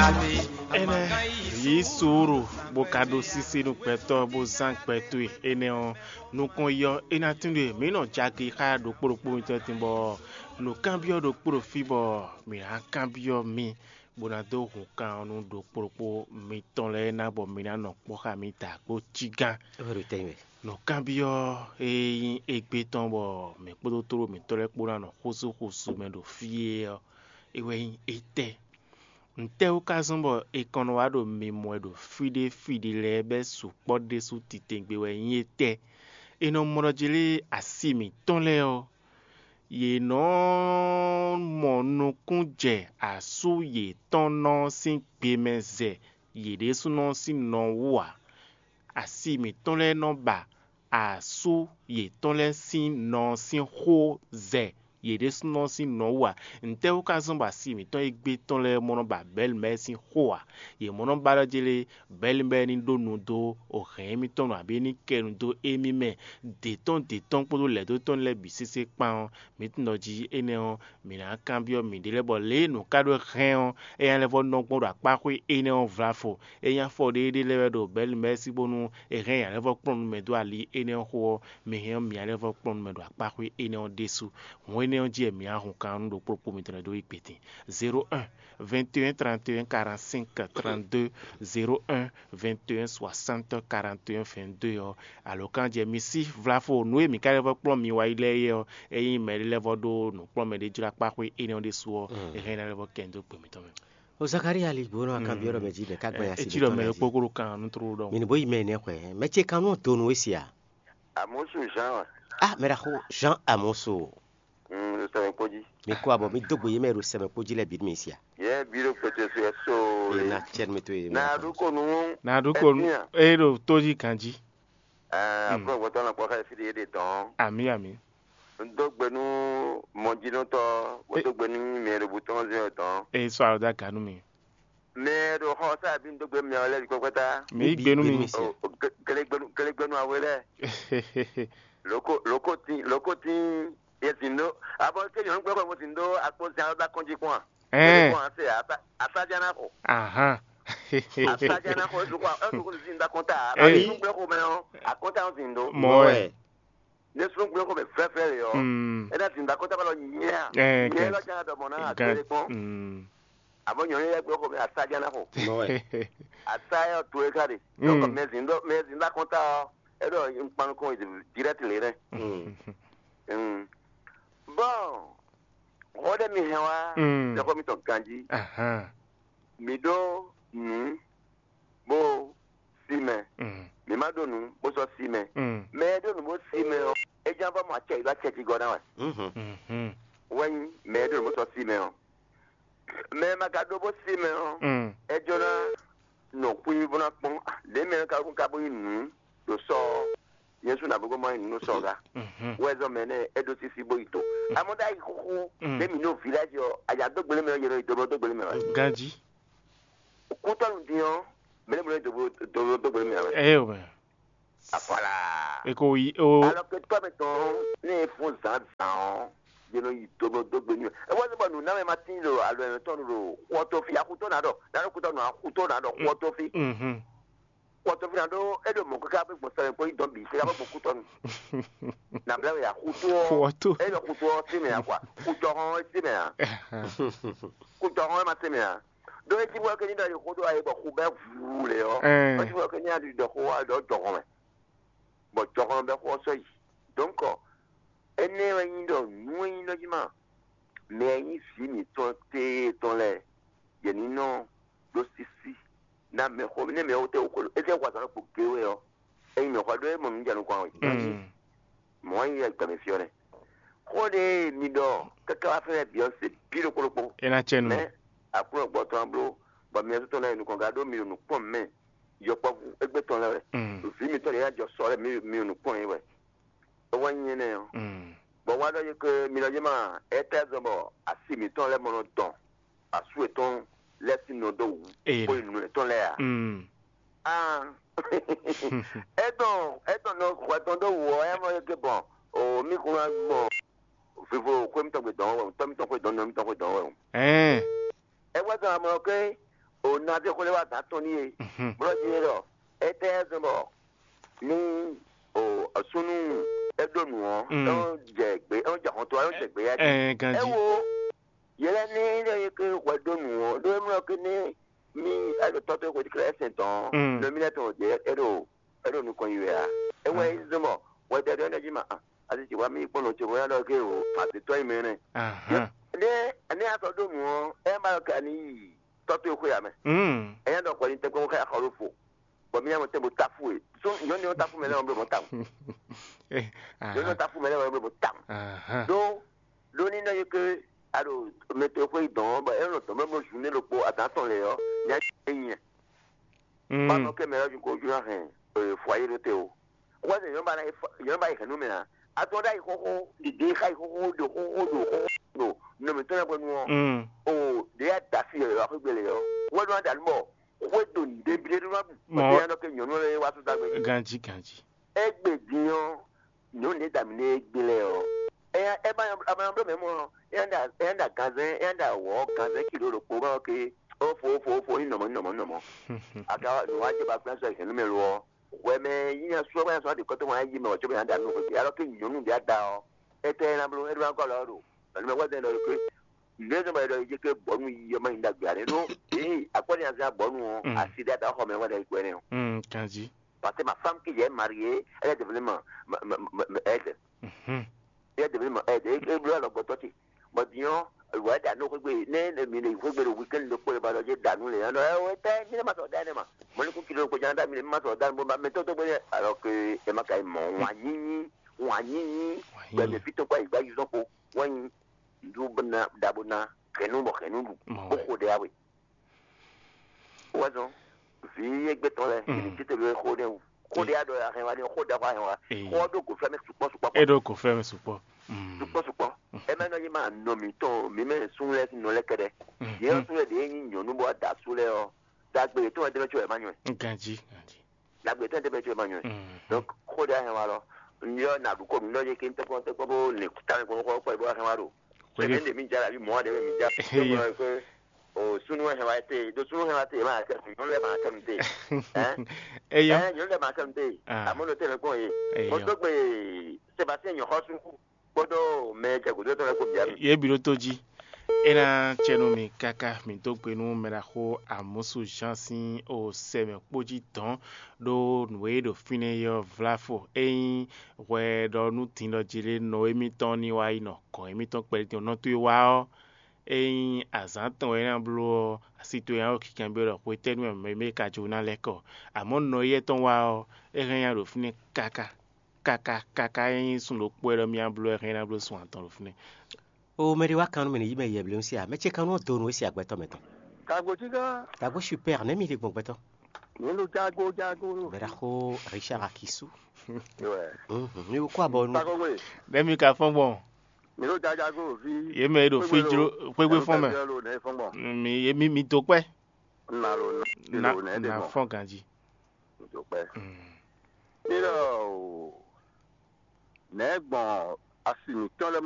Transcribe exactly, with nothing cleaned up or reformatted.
Énɛ́ yí suúlu, bó ka ɖó sísí nú gbɛtɔ́, bó zán gbɛ towe. Énɛ́ ɔ́, nukɔn yɔ é ná tín ɖe mǐ nɔ jagi xá ɖokpó ɖokpó mitɔn tín, bɔ nǔkanbyɔ́ ɖokpó ɖo fí, bɔ mǐ ná kanbyɔ́ mi, bó ná dó hun kan ɔ́ nú ɖokpó ɖokpó mitɔn lɛ́ɛ ná, bɔ mi ná nɔ kpɔ́ xá mì da kpó cígán. Nǔkanbyɔ́ e nyí égbé tɔn, bɔ mǐ kpódó tlóló mǐtɔn lɛ́ɛ kpó ná nɔ xósú xósú mɛ ɖo fí é ɔ́, é wɛ nyí étɛ́? Ntɛ́ wú ka zɔ́n bɔ è kɔn nɔ wá ɖo mimɔ wɛ ɖo fí ɖé fí ɖé lɛ́ɛ bɛ́ sukpɔ́ ɖésú titewungbe wɛ nyí étɛ́? È nɔ mɔ ɖɔ jí lé asi mǐtɔn lɛ́ɛ ɔ́, yě nɔ mɔ nukún jɛ asú yětɔn nɔ sín gbe mɛ zɛ yě ɖésúnɔ sín nɔ wú ǎ. Asi mǐtɔn lɛ́ɛ nɔ ba asú yětɔn lɛ́ɛ sín nɔ sín xó zɛ yě ɖésúnɔ sín nɔ wú ǎ. Ntɛ́ wú ka zɔ́n bɔ asi mǐtɔn e gbé tɔn lɛ́ɛ mɔ nɔ ba Bɛlmɛ sín xó ǎ? Yě mɔ nɔ ba ɖɔ jélé Bɛlmɛ ní ɖó nu dó hɛ̌n émítɔn nu, abǐ é ní kɛ nu dó émí mɛ, dě tɔn dě tɔn kpódó lɛ̌ dó tɔn lɛ́ɛ bǐ sésé kpán ɔ́, mǐ tunwun ɖɔ jí énɛ́ ɔ́, mǐ ná kanbyɔ́ mǐɖée lɛ́ɛ bɔ lě e nǔ ka ɖó hɛn ɔ́, é nya lɛ́ vɔ́ nɔ gbɔn ɖo akpáxwé énɛ́ ɔ́ vlafo. É nya fɔ ɖéeɖée lɛ́ɛ wɛ ɖo Bɛlmɛ sí bónú è hɛn nya lɛ́ vɔ́ kplɔ́n nú mɛ dó ali énɛ́ ɔ́ xó ɔ́, mi hɛn ɔ́, mi nya lɛ́ vɔ́ kplɔ́n nú mɛ ɖo akpáxwé énɛ́ ɔ́ ɖésú. Hǔn énɛ́ ɔ́ jí wɛ mǐ ná hun kan nú ɖokpó ɖokpó mitɔn lɛ́ɛ dó yi gbětin. Zéro un, vingt et un, trente et un, quarante-cinq, trente-deux, zéro un, vingt et un, soixante, quarante et un, vingt-deux ɔ́, alǒkan jɛ mi sí vlafo nǔ e mǐ ka lɛ́ vɔ́ kplɔ́n mi wá yi lɛ́ɛ é ɔ́, ényí mɛɖé lɛ́ vɔ́ ɖó nǔkplɔ́nmɛ ɖé jló akpáxwé énɛ́ ɔ́ ɖésú ɔ́, é hɛn ná lɛ́ vɔ kɛn dó gbe mǐtɔn mɛ. O Zakalía ali gbǒ nɔ akanbyɔ́ ɖɔ mɛ jí mɛ ká gbɛn asi ɛ tsi ɖɔ mɛ ɖokpó kó ɖo kan nú tló ɖɔ. Mi ní bó yi mɛ nɛ xwɛ mɛ ce kan nú donu we sia. Amosu Jean wa. Ah, mɛ ɖaxó Jean Amosu. Mm, sɛmɛ kpó jí. Mi kó abɔ mi dó gbe yé mɛ ɖo sɛmɛ kpó jí lɛ bǐ mi sia. Yɛ bí ɖo kpɛtɛ so ɛ so. E na cɛ mi to ye. Na ɖu ko nu. Na ɖu ko nu. E ɖo tó jí ganjí. Ɛɛ, aƒlɔgbɔtɔ na kpɔ xɛ fi ɖe ɖe tɔn. Ami ami. N dó gbe nú mɔjínútɔ, bó dó gbe nú mɛ ɖo butɔn zɛn tɔn. E sɔ alɔ da ganu mi. Mɛ ɖo xɔ sa bi n dó gbe mɛ lɛ kpɛkpɛta. Mi yi gbe nú mi. Gelegbenu gelegbenu awe lɛ. Loko loko tin loko tin ye zin do. Abɔ ke nyɔnu gbɛ kɔ mo zin do akpo zan ba kɔnji kɔn. Ɛɛ. Kɔn ase asa asa jana ko. Ahan. Asa jana ko ezu ko ezu ko zin da kɔnta. Ɛɛ. Abi nu gbɛ ko mɛ o akɔnta o zin do. Mɔ wɛ. Ne sunnu gbɛ ko mɛ fɛfɛ le ɔ. Mm. E na zin da kɔnta ba lɔ nyɛ. Ɛɛ. Nyɛ lɔ jana dɔ mɔ na agbele kɔn. Mm. Àmọ́ nyɔ̌nu yɛ gbé xɔ mɛ asájá ná xɔ. Asáyá ɔ to é ká ɖe. Donc mɛ zǐn ɖɔ mɛ zǐn ɖɔ akɔnta ɔ, é ɖɔ un kpan nukɔn direct lě nɛ. Bon, xɔ ɖé mi hɛn wá, ɖexɔ mitɔn ganjí. Mi ɖó nǔ bó sí mɛ. Mi má ɖó nǔ bó sɔ́ sí mɛ. Mɛ e ɖó nǔ bó sí mɛ ɔ́, é ján vɔ mɔ acɛ yi ɖó acɛ jí gɔ́ ná wɛ. Wɛ́nyí mɛ e ɖó nǔ bó sɔ́ sí mɛ ɔ́. Mɛ e ma ka ɖó bó sí mɛ ɔ́, é jló ná nɔ xwí bó ná kpɔ́n ɖě mɛ ɔ́ ka ka bó nyí nǔ ɖo sɔ ɔ́, nyɛ sú nǎ bó má nyí nǔ ɖo sɔ gá. Wɛ zɔn mɛ nɛ́ é ɖó sísí bó yi to. Amɔ́ ɖó ayi xúxú ɖé mǐ ɖo vǐláji ɔ́, ayǎ dó gbélé mɛ ɔ́, yě nɔ yi dó bó dó gbélé mɛ wɛ. Ganjí. Kútɔ́nù dín ɔ́, mɛ nɛ́ mɛ nɔ yi dó bó dó gbélé mɛ wɛ. Ɛ o mɛ. Voilà. E ko yi o. Alors que toi maintenant, ne fún zan zan ɔ́, yě nɔ yi dó bó dó gbélé mɛ. E wá sí bɔ nǔnámɛ ma tín ɖo alɔ yětɔn ɖo xɔ tó fí, axutó ná ɖɔ, ná ɖɔ kútɔ́nù axutó ná ɖɔ xɔ tó fí. Xɔ tó fí ná ɖó é ɖo mɔ̌ káká bó gbɔn sɛmɛ kpó yi dɔn bǐ, káká bó gbɔn kútɔ́nù. Nabla wɛ axutó ɔ́, é ɖɔ xutó ɔ́ sí mɛ ǎ kwa, kútɔ́ hɔn ɔ́ sí mɛ ǎ, kútɔ́ hɔn ɔ́ ma sí mɛ ǎ. Ɖó é cí bɔ é ké ní ɖɔ yi xó ɖó ayi bɔ xu bɛ́ vuu lě ɔ́, é cí bɔ é ké ní ɖɔ xó wá ɖɔ jɔhɔn mɛ, bɔ jɔhɔn bɛ́ xó ɔ́ sɔ́ yi. Donc énɛ́ wɛ nyí ɖɔ nǔ e nyí ɖɔ jí ma, mɛ e nyí vǐ mǐtɔn téé tɔn lɛ́ɛ, yě ní nɔ ɖó sísí ná mɛxó, nɛ́ mɛxó tɛ́ wú xó é jẹ́ wazán ɖokpó géé wɛ ɔ́, é nyí mɛxó ɖó é mɔ nǔ jɛ nukɔn ǎ wɛ. Mɔ̌ wɛ nyí gbɛmɛ fí ɔ́ nɛ́. Xó ɖé mi ɖɔ káká wá fɛ́nɛ Beyonce bí ɖokpó ɖokpó. É ná cɛ nú mɛ. Aklúnɔ gbɔ tɔn bló, bɔ mi ɔ́ tɔn lɛ́ɛ nukɔn ga ɖó mi ɖo nǔ kpɔ́n mɛ. Yɔkpɔ́vú égbé tɔn lɛ́ɛ wɛ. Vǐ mitɔn lɛ́ɛ ná jɔ sɔ lɛ́ɛ mi mi ɖo nǔ kpɔ́n yě wɛ. É wɛ nyí énɛ́ ɔ́. Bɔ wá ɖɔ yě ke mi lɔ yé ma étɛ́ zɔn bɔ asi mǐtɔn lɛ́ɛ mɔ nɔ dɔn asú yětɔn lɛ́ɛ sín nɔ dó wǔ bó yi nǔ yětɔn lɛ́ɛ ǎ. Aa, é dɔn é dɔn nɔ hwɛ tɔn dó wǔ ɔ́, é mɔ yě ke bɔn o mí kún ná gbɔn vivo xwé mítɔn gbe dɔn wɛ o, tɔ́ mítɔn xwé dɔn nɔ mítɔn xwé dɔn wɛ o. Ɛɛ. É wá zɔn amlɔ ké O na zé xó lɛ́ wá gǎn tɔn n'i é. Blɔ́ jí é ɖɔ étɛ́ zɔ́n bɔ ní o súnnu é ɖó nǔ ɔ́, é nɔ jɛ gbé, é nɔ jɛ hɔn to, é nɔ jɛ gbé yá jí. Ɛ ganjí. É wo yě lɛ́ɛ ní é nyí ké hwɛ ɖó nǔ ɔ́, ɖó é mlɔ́ ké ní mí é ɖo tɔ́ tó xwe tlɛ sɛn tɔn, nɔ mí lɛ́ɛ tɔn jɛ é ɖo é ɖo nukɔn yi wɛ a? É wɛ é zɔ́n bɔ hwɛ dɛdɛ é nɔ jí ma a asi ci wá mí kpɔ́n nɔ ce hwɛ ɖɔ ké o, ma se tɔ́ yi mɛ nɛ. Ahán. Ní ní a sɔ́ ɖó nǔ ɔ́, é ma ɖɔ ka ní yi tɔ́ tó xwe ǎ mɛ. Mm. É nyá ɖɔ hwɛ ní tɛ́nkpɔ́n xá xɔ ɖó fo. Bɔ mí nyá mɔ tɛ́n bo táfú e. Sún nyɔ̌nu ɔ́ táfú mɛ lɛ́ɛ ɔ́ bló mɔ tawun. Eh, nyɔ̌nu ɔ́ ahán. Táfú mɛ lɛ́ɛ ɔ́ bló mɔ tawun. Ahán. Ɖó ɖó ní nɔ yi ké a ɖo mɛ tó xwe yi dɔn ɔ́, bɔ é nɔ dɔn mɛ bló zun ní ɖokpó adǎn tɔn lě ɔ́, nyá é nyɛ. Mm. Ba nɔ kɛ mɛ ɔ́ ko jú ná hɛn fɔ ayé ɖó te o. Wɛ́ nyɔ̌nu ba ná yi hɛn nú mɛ ǎ. A tɔn ɖ'ayǐ xóxó ɖiɖe xá yi xóxó ɖo xóxó ɖo xóxó ɖo nɔ mǐtɔn lɛ́ɛ hwenu ɔ́. Mm. O ɖě ya da asi yɔ̌yɔ́ xwé gbélé ɔ́. Wɛ́ ɖó ná ɖa nú bɔ xwé do nǔɖé blé ɖó ná bu. Mɔ- Bɔ é ná nɔ kɛ nyɔ̌nu lɛ́ɛ wá tó dagbe. Ganjí, ganjí. Égbé din ɔ́, nyɔ̌nu ɖě da mǐ nú égbé lɛ́ɛ ɔ́, é nya é ma nyɔ a ma nyɔ bló mɛ mɔ é nya ɖa é nya ɖa ganzɛ́n é nya ɖa wɔ̌ ganzɛ́n kilo ɖokpó ma ɔ́ ké ó fo ó fo ó fo ní nɔmɔ ní nɔmɔ ní nɔmɔ. Aga nǔwájɛ ba kplá sɔ hɛ̌nnu mɛ lo ɔ́, hwɛ mɛ yí nya sú ɔ́ bá nya sú ɔ́ ɖe kɔ́tɔ́ wá yí mɛ wǎ cóbɔ nya ɖa nú xwé. Alɔ ké nyɔ̌nu ɖě ada ɔ́, étɛ́ ná bló é ɖó ná gɔ́ alɔ ɔ́ ɖo. Pɛ̀lú mɛ hwɛ́ zɛn ɖɔ é ké nǔɖé zɔn bɔ é ɖɔ é jɛ ké bɔ̌ nú yi ɔ́ má nyí ɖagbe ǎ. Ɖó éyi akwɛ́ ní azán bɔ̌ nú ɔ́, asi ɖé ada xɔ mɛ wɛ ɖɔ é gbɛ́ nɛ́ ɔ́. Kanjí. Parce que ma femme qui est mariée, elle est devenue ma, ma, ma, ma, ma aide. Mhm. Elle est devenue ma aide. Et, et lui, alors, bon, toi, tu, bon, disons, ouais, dans nos rues, ne, ne, ne, rues, le week-end, le, le, le, le, dans nous, les gens, ouais, ouais, t'es, ne, ma, dans, dans, ma, mon, le coup, qui, le, coup, dans, dans, ma, dans, dans, bon, ma, mais, toi, toi, bon, alors que, et ma, quand même, on, on, on, on, on, ben, mais, putain, quoi, il va, ils ont, quoi, ouais, nous, bon, d'abord, na, que nous, bon, que nous, bon, ouais. Beaucoup de, ah, oui. Wɛzɔn, vǐ égbé tɔn lɛ́ɛ, mm, ibi títí ló xó ɖé wú. Xó ɖé adɔ ahɛn wa ní xó ɖé xó ahɛn wa. Ee. Xó ɖó gǒ fɛ́ mɛ sukpɔ́ sukpɔ́. E ɖó gǒ fɛ́ mɛ sukpɔ́. Mm. Sukpɔ́ sukpɔ́. Mm. Ɛ má nɔ yí ma nɔ mǐtɔn mǐ mɛ sún lɛ́ɛ nɔ lɛ́ kɛɖɛ. Mm. Yě ɔ́ sún lɛ́ɛ ɖě nyí nyɔ̌nu bó wá da asú lɛ́ɛ ɔ́, dagbe yětɔn wɛ dé mɛ có wɛ má nyɔ́ ɛ. Ganjí, ganjí. Dagbe yětɔn wɛ dé mɛ có wɛ má nyɔ́ ɛ. Mm. Donc xó ɖé ahɛn wa lɔ, n yɔ nà ɖu kó nǔ ɖɔ yé ké n tɛ́kpɔ́n tɛ́kpɔ́n bó lin tamɛ kpɔ́n xó kpɔ́ bó ahɛn wa ɖo. Kwe. Ɛmɛ ɖe mi dza la bi mɔ ɖe mi dza. Eyo. Ko sunnu hɛn wa te, do sunnu hɛn wa te ma kɛ nyɔnu lɛ ma kɛ mi te. Hein? Eyo. Hein, nyɔnu lɛ ma kɛ mi te. Ah. Amono te le kpɔn ye. Eyo. Mo to gbe Sébastien nyɔxɔsu kpódó mɛ jɛ gǔdo tɔn lɛ kpó bia mi. Ye bi ɖó tó jí. É ná cɛ nú mi káká mi dó gbe nú mɛɖaxó Amusu Jean sín o sɛ mɛ kpó jí dɔn ɖó nǔ e ɖo fínɛ́ é ɔ́ vlá fo. Ényí hwɛ ɖɔ nú din ɖɔ jí lé nɔ émítɔn ní wá yi nɔ gɔ̌n émítɔn kpɛɖé din nɔ towe wá ɔ́, ényí azǎn tɔn wɛ é ná bló ɔ́, asi towe ná ɖo kinkanbyɔ́ ɖɔ hwetɛ́nu wɛ mɛ e ka jó ná lɛ́ kɔ. Amɔ̌ nɔ éyɛ́ tɔn wá ɔ́, é hɛn nya ɖo fínɛ́ káká káká káká. Ényí sun ɖokpó wɛ ɖɔ mì ná bló, é hɛn ná bló sun atɔn ɖo fínɛ́. O mɛ ɖé wá kan nú mì ní yí mɛ yɛblɛ́ sí ǎ. Mɛ ce kan nú ɔ́ do nú é sí agbɛtɔ́ mɛ tɔn. Kagbo cí gán. Kagbo super nɛ̌ mi ɖe gbɔn gbɛtɔ́? Mǐ ɖo jago jago ɖo. Bɛɖaxó Richard Akisu. Wɛ. Mhm, mi kó abɔ nu. Kagbo gbe. Ɖe mi ka fɔn gbɔn? Mǐ ɖo jago ɖo fí. Ye mɛ ɖo fí jlo xwégbé fɔn mɛ. Nɛ fɔn gbɔn. Mi ye mi mi do kpɛ. Na lo na Na lo nɛ de na gbɔn. Fɔn ganji. Mi do kpɛ. Mm. Ilɔ o. Nɛ gbɔn asi mǐtɔn lɛ